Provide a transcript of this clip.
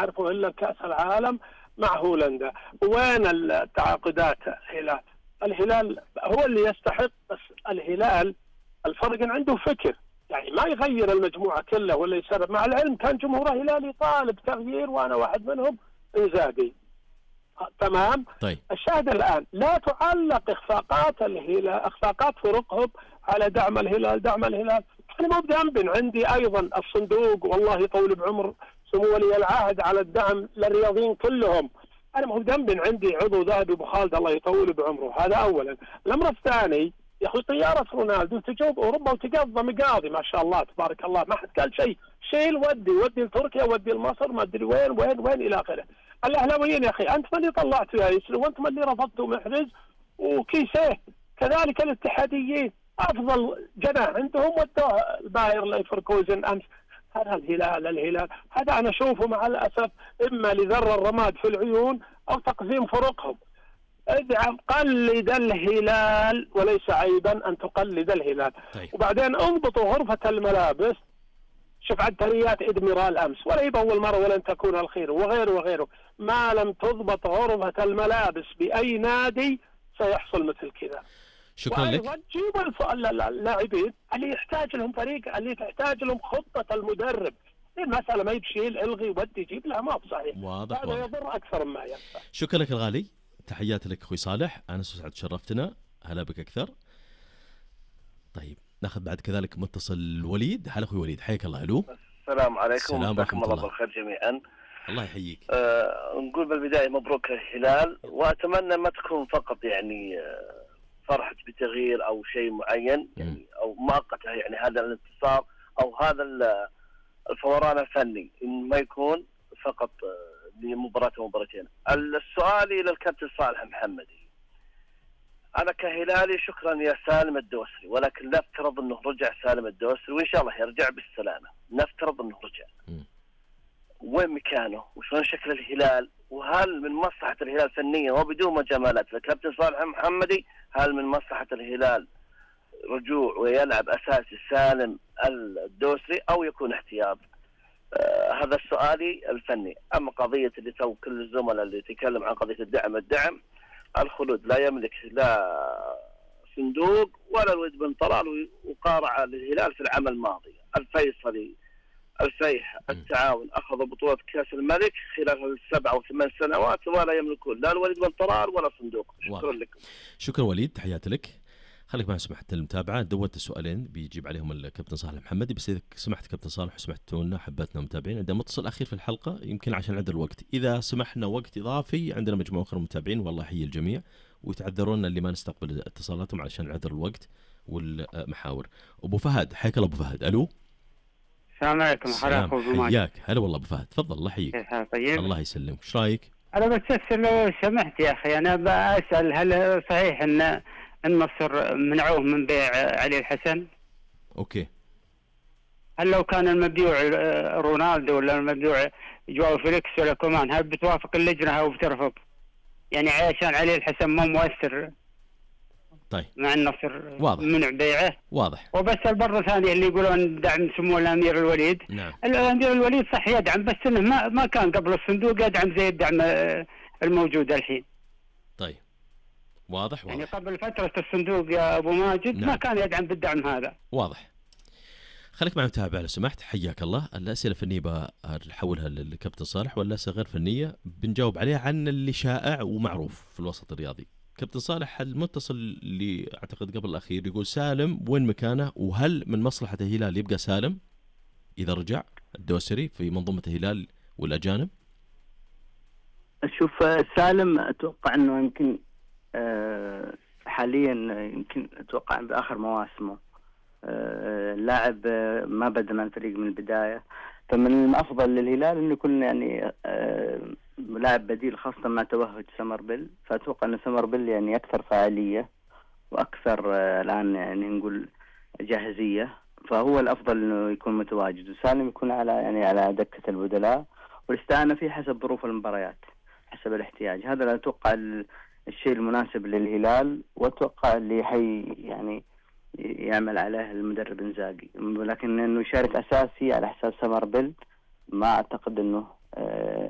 نعرفه إلا كأس العالم مع هولندا. وين التعاقدات الهلال هو اللي يستحق، بس الهلال الفرق عنده فكر، يعني ما يغير المجموعة كلها ولا يسرب. مع العلم كان جمهور الهلال طالب تغيير وأنا واحد منهم، إنزاغي. تمام. طيب. الشاهد الآن لا تعلق إخفاقات الهلال، إخفاقات فرقهم على دعم الهلال. أنا مو بذنب، عندي أيضا الصندوق والله يطول بعمر سمو ولي العهد على الدعم للرياضيين كلهم. أنا مو بذنب، عندي عضو ذهبي أبو خالد الله يطول بعمره. هذا أولا. الأمر الثاني يا أخي، طيارة رونالدو تجوب أوروبا وتقضى مقاضي ما شاء الله تبارك الله، ما حد قال شيء. شيل ودي لتركيا، ودي لمصر، ما أدري وين إلى آخره. الأهلاويين يا أخي أنت من اللي طلعته يا يسري، وأنت من اللي رفضته محرز وكيسيه. كذلك الاتحاديين أفضل جناح عندهم ودوه الباير ليفركوزن أمس. هذا الهلال هذا أنا أشوفه مع الأسف إما لذر الرماد في العيون أو تقزيم فرقهم. ادعم، قلد الهلال، وليس عيبا أن تقلد الهلال. طيب. وبعدين انضبطوا غرفة الملابس. شوف عدتريات إدميرال أمس، ولا يبقى أول مرة ولن تكون الخير، وغيره. ما لم تضبط غرفة الملابس بأي نادي سيحصل مثل كذا. شكرا لك. جيبوا اللاعبين اللي يحتاج لهم فريق، اللي تحتاج لهم خطة المدرب. المسألة ما يبشيل الغي ودي جيب لها، ما بصحيح. واضح. هذا يضر أكثر مما ينفع. شكرا لك الغالي، تحياتي لك أخوي صالح، أنا سعد شرفتنا، هلا بك أكثر. طيب ناخذ بعد كذلك متصل وليد. هلا أخوي وليد، حياك الله. ألو. السلام عليكم. السلام ورحمة الله بالخير جميعا. الله يحييك. نقول بالبداية مبروك الهلال، وأتمنى ما تكون فقط يعني فرحة بتغيير أو شيء معين يعني أو مؤقتة، يعني هذا الانتصار أو هذا الفوران الفني، إن ما يكون فقط لمباراة ومباراتين. السؤال إلى الكابتن صالح محمدي، أنا كهلالي شكرا يا سالم الدوسري، ولكن نفترض أنه رجع سالم الدوسري وإن شاء الله يرجع بالسلامة، نفترض أنه رجع، وين مكانه وشلون شكل الهلال، وهل من مصلحة الهلال فنيا وبدون مجاملات الكابتن صالح محمدي، هل من مصلحة الهلال رجوع ويلعب أساسي سالم الدوسري أو يكون احتياط؟ هذا سؤالي الفني. أما قضية اللي تو كل الزملاء اللي يتكلم عن قضية الدعم، الخلود لا يملك لا صندوق ولا الوليد بن طلال، وقارع للهلال في العام الماضي. الفيصلي، الفيح، التعاون أخذوا بطولة كأس الملك خلال 7 أو 8 سنوات ولا يملكون لا الوليد بن طلال ولا صندوق. شكرا لكم. شكرا وليد، تحياتي لك. خليك معي سمحت المتابعة، دوت السؤالين بيجيب عليهم الكابتن صالح محمدي، بس إذا سمحت كابتن صالح وسمحتونا حبتنا متابعين، عندنا متصل أخير في الحلقة يمكن عشان عدد الوقت، إذا سمحنا وقت إضافي عندنا مجموعة أخرى متابعين والله يحيي الجميع، ويتعذرون اللي ما نستقبل اتصالاتهم علشان عدد الوقت والمحاور. أبو فهد، حياك الله أبو فهد. ألو. السلام عليكم. حياك. هلا والله أبو فهد، تفضل الله يحييك. طيب. الله يسلمك، إيش رأيك؟ أنا بس لو سمحت يا أخي، أنا بسأل هل صحيح أن النصر منعوه من بيع علي الحسن؟ أوكي. هل لو كان المبيوع رونالدو ولا المبيوع جواو فيليكس ولا كومان، هل بتوافق اللجنة أو بترفض؟ يعني عشان علي الحسن مو مؤثر. طيب. مع النصر واضح. منع بيعه. واضح. وبس البر ثانية اللي يقولون دعم سمو الأمير الوليد. نعم. الأمير الوليد صح يدعم، بس إنه ما كان قبل الصندوق يدعم زي الدعم الموجود الحين. طيب. واضح. يعني قبل فترة الصندوق يا أبو ماجد. نعم. ما كان يدعم بالدعم هذا. واضح. خليك معي متابع لو سمحت، حياك الله. الأسئلة الفنية بحولها للكابتن صالح، والأسئلة غير فنية بنجاوب عليها عن اللي شائع ومعروف في الوسط الرياضي. كابتن صالح، المتصل اللي أعتقد قبل الأخير يقول سالم وين مكانه، وهل من مصلحة الهلال يبقى سالم إذا رجع الدوسري في منظومة الهلال والأجانب؟ شوف سالم أتوقع أنه يمكن حاليا يمكن أتوقع بآخر مواسمه لاعب ما بدأ مع الفريق من البداية، فمن الأفضل للهلال أنه يكون يعني لاعب بديل، خاصة مع توهج سمربل. فأتوقع أن سمربل يعني أكثر فعالية وأكثر الآن يعني نقول جاهزية، فهو الأفضل أنه يكون متواجد، وسالم يكون على دكة البدلاء، والاستعانة فيه حسب ظروف المباريات حسب الاحتياج. هذا لا أتوقع الشيء المناسب للهلال، وأتوقع اللي يعني يعمل عليه المدرب إنزاغي. لكن إنه يشارك أساسي على حساب سمربل ما أعتقد إنه